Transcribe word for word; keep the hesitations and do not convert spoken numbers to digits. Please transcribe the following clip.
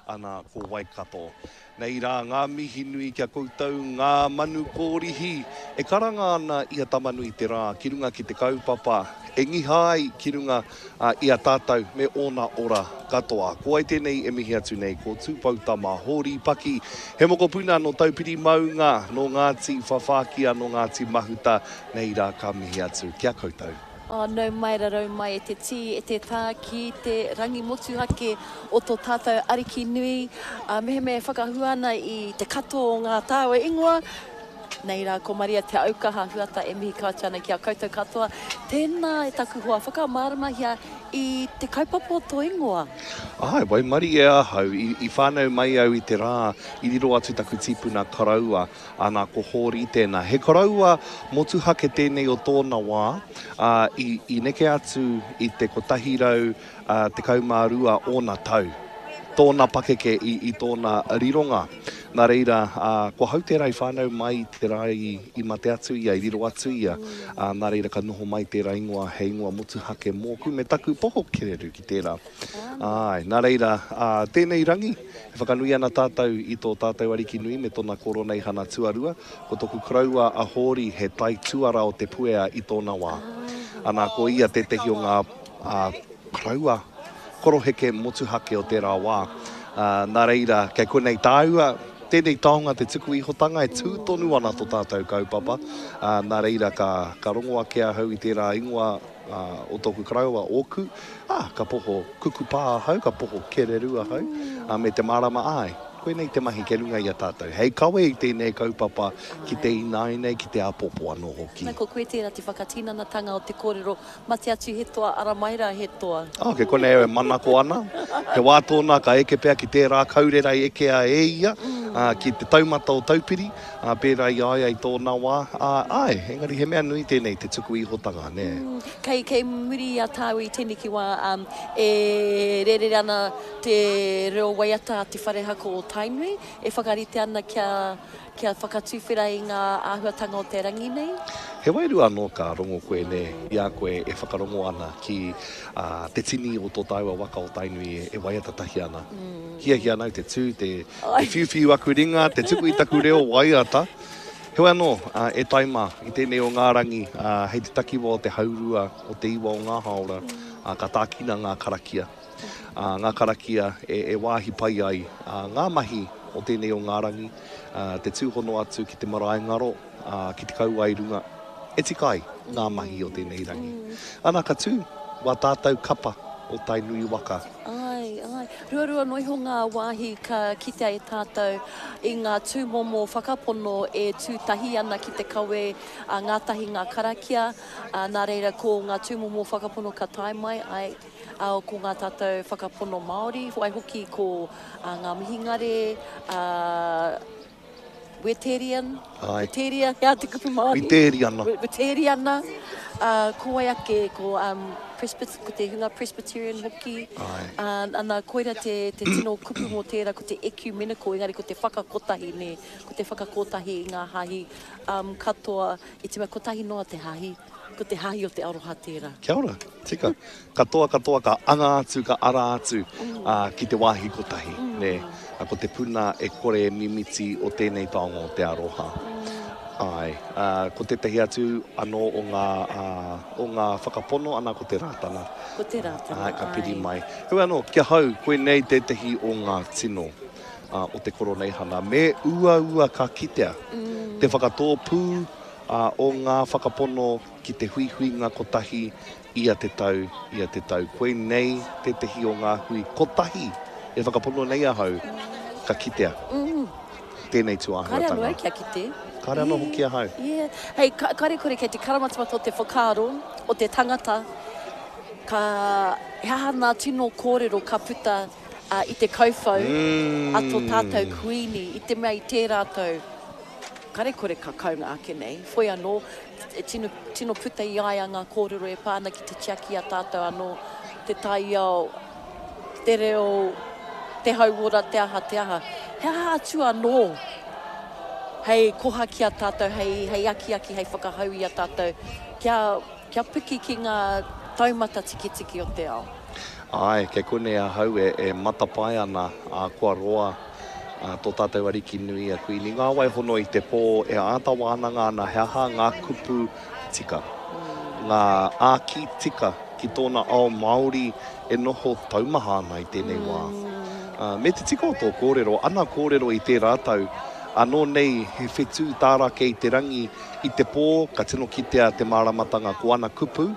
Ana ko Waikato. Nei rā ngā mihi nui ki a koutou ngā manu kōrihi e karanga ana i a Tamanui-te-Rā ki runga ki te kaupapa e ngiha ai ki runga i a tātou me ōna ora katoa. Ko wai tēnei e mihi atu nei? Ko Tūpoutama Hōri Paki, he mokopuna nō Taupiri Maunga, nō Ngāti Whawhākia, nō Ngāti Mahuta, nei rā ka mihi atu ki a koutou. Oh, nau mai rarau mai e te tī, e te tā ki te rangi motuhake o tō tātou Ariki nui. Ā, mehemea e whakahua ana i te katoa o ngā tāua ingoa, nei rā ko Maria Te Aukaha Huata e mihi kau atu ana ki a koutou katoa. Tēnā e taku hoa, whakamāramahia i te kaupapa o tō ingoa. Āe, waimarie ahau, i, i whānau mai au i te rā i riro atu taku tīpuna koroua, Ana, ko Hōri tēnā. He koroua motuhake tēnei o tōna wā, ā, i, i neke atu i te kotahi rau, ā, tekau mā rua ōna tau, tōna pakeke i, i tōna rironga. Nā reira, ā, ko hau tērā i whānau mai i te rā i, i mate atu ia, i riro atu ia, ā, nā reira ka noho mai tērā ingoa hei ingoa motuhake mōku me taku poho kereru ki tērā. Āe, nā reira, ā, tēnei rangi, E whakanui ana tātou i tō tātou Ariki nui me tōna Koroneihana tuarua, ko toku koroua a Hōri he taituara o Te Puea i tōna wā. Ana, ko ia tētehi o ngā koroua koroheke motuhake o tērā wā. Nā reira, kei konei tāua, tēnei taonga te tuku ihotanga e tū tonu ana tō tātou kaupapa. Nā reira, ka, ka rongo ake ahau i tērā ingoa, Ā, o tōku koroua, ōku, ā, ka poho kukupā ahau, ka poho kererū ahau, ā, me te mārama, āe, koinei te mahi kei runga i a tātou, hei kawe i tēnei kaupapa ki te ināianei, ki te āpōpō anō hoki. Nā, ko koe tērā te whakatinanatanga o te kōrero, mate atu he toa, ara mai rā he toa. Ā, kei konei au e manako ana, he wā tōna ka eke pea ki tērā kaurera i ekea e ia, ā, ki te taumata o Taupiri, Ā, pērā i a ia i tōna wā, ā, āe, engari he mea nui tēnei, te tuku ihotanga, nē. Kei, kei muri i a tāua i tēneki wā, ā, e rērere ana te reo waiata a Te Whare Haka o Tainui, e whakarite ana kia, kia whakatuwhera i ngā āhuatanga o te rangi nei. He wairua anō ka rongo koe, nē, i a koe e whakarongo ana ki, ā, te tini o tō tāua waka o Tainui e, e waiata tahi ana. Hiahia ana au te tū, te, te whiuwhiu aku ringa, te tuku i taku reo waiata. Heoi anō, e tai mā, i tēnei o ngā rangi, hei te takiwa o te haurua o te iwa o ngā hāora, ka tākina ngā karakia. Ngā karakia e wāhi pai ai ngā mahi o tēnei o ngā rangi, te tūhono atu ki te marae ngaro, ki te kauae runga, e tika ai ngā mahi o tēnei rangi. Ana, ka tū wā tātou kapa o Tainui waka. Āe, āe. Ruarua noa iho ngā wāhi ka kitea e tātou i ngā tūmomo whakapono e tū tahi ana ki te kawe ngātahi ngā karakia, ā, nā reira ko ngā tūmomo whakapono ka tae mai, āe, ā, ko ngā tātou whakapono Māori, waihoki ko ngā mihingare, ā, Weterian, Āe. Weteria, he aha te kupu Māori? Witeriana. Witeriana, ā, ko wai ake, ko, um, Presbyt, ko te hunga Presbyterian hoki. Āe. Ā, ana, koira te, te tino kupu mō tērā, ko te ecumenical, engari ko te whakakotahi, nē, ko te whakakotahi i ngā hāhi, um, katoa, i te mea kotahi noa te hāhi, ko te hāhi o te aroha tērā. Kia ora, tika. Katoa, katoa ka anga atu, ka ara atu, ā, ki te wāhi kotahi, nē. Ā, ko te puna e kore e mimiti o tēnei taonga o te aroha. Āe, ā, ko tētahi atu anō o ngā, ā, o ngā whakapono, ana, ko te Rātana. Ko te Rātana, āe. Ka piri āe. mai. Heoi anō, ki ahau, koinei tētahi o ngā tino, ā, o te Koroneihana. Me uaua ka kitea te whakatōpū, ā, o ngā whakapono ki te huihuinga kotahi ia te tau, ia te tau. Koinei tētehi o ngā hui kotahi e whakapono nei ahau ka kitea tēnei Kāre anō tūāhuatanga. au kia kite. Kāre anō hoki ahau. Yeah. Hei, kāre kore kei te karamatamata o te whakaaro o te tangata, ka, he aha ngā tino kōrero ka puta i te kauwhau a tō tātou Kuini i te mea i tērā tau, Kare kore ka kaunga ake nei, whoi anō, e tino, tino puta i a ia ngā kōrero e pā ana ki te tiaki i a tātou anō, te taiao, te reo, te hauora, te aha, te aha. He aha atu anō hei koha ki a tātou, hei, hei akiaki, hei whakahau i a tātou kia, kia piki ki ngā taumata tiketike o te ao? Āe, kei konei ahau e, e matapae ana, ā, kua roa ā, tō tātou Ariki nui a Kuini Ngāwai hono i te pō e āta wānanga ana he aha ngā kupu tika, ngā āki tika ki tōna ao Māori e noho taumaha ana i tēnei wā. Ā, me te tika o tō kōrero, ana kōrero i tērā tau, anō nei he whetū tārake i te rangi, i te pō ka tino kitea te māramatanga ko ana kupu,